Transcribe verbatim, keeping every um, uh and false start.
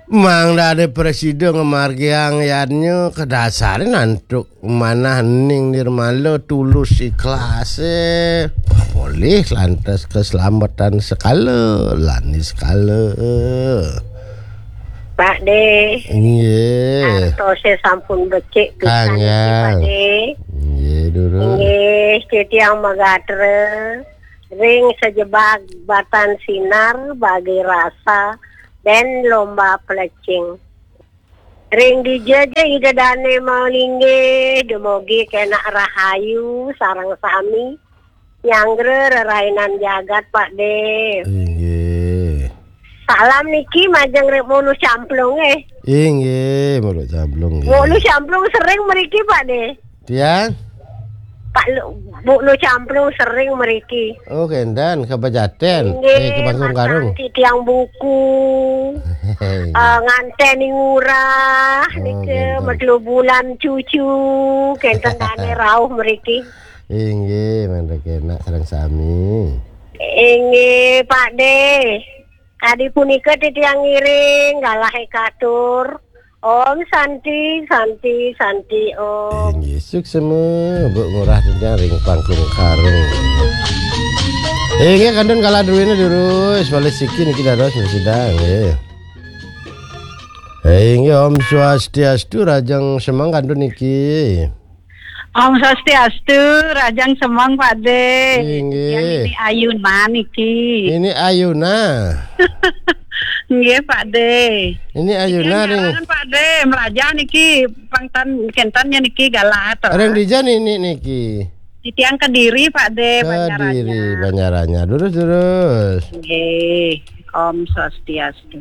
Mangda ada presida ngamargiang yadnya, kadasare antuk manah ning nirmala tulus ikhlas, eh, polih lantas keselamatan sekala, lani sekala. Pak De, inggih, artose sampun becik pisan niki, Pak De. Inggih, Duru. Inggih, titiang magatra ring sajebag batan sinar bagi rasa dan lomba pelecing. Ring dija ja Ida Dane malinggih, dumogi kenak rahayu sareng sami nyanggra rerainan jagat, Pak De. Inggih. Salam niki majeng ring Mulu Camplung, eh. Inggih, Mulu Camplung, nggih. Mulu Camplung sering mriki, Pak De. Tiang? Pak Lu, Bu Lu Camplung sering mriki. Oh, kendan ke Pejaten. Inggih, eh, ke Bangkung Karung. Tiang buku. Eh, nganten ngurah, oh, nika, kendan. Medlu bulan cucu, kenten dane rauh mriki. Inggih, mangda kenak sareng sami. Inggih, Pak De. Kadi punika titiang ngiring, galahe katur. Om Santi, Santi, Santi, Om. Inggih, suksma, Bu Ngurah titiang ring Pangkung Karung. Inggih, kantun kala druene durus, wali siki niki dados presida, nggih. Inggih, Om Swastiastu, rahajeng semeng kantun niki. Om Swastiastu, rahajeng semeng, Pak De. Inggih. Yang ini Ayuna niki. Ini Ayuna. Nggih, Pak De. Ini Ayuna ring Pak De, mlajah niki pang ten, kenten niki galah. Ring dija niki niki? Titiang Kediri, Pak De, Kediri, Banjaranya. Banjaranya. Durus, durus. Nggih, Om Swastiastu.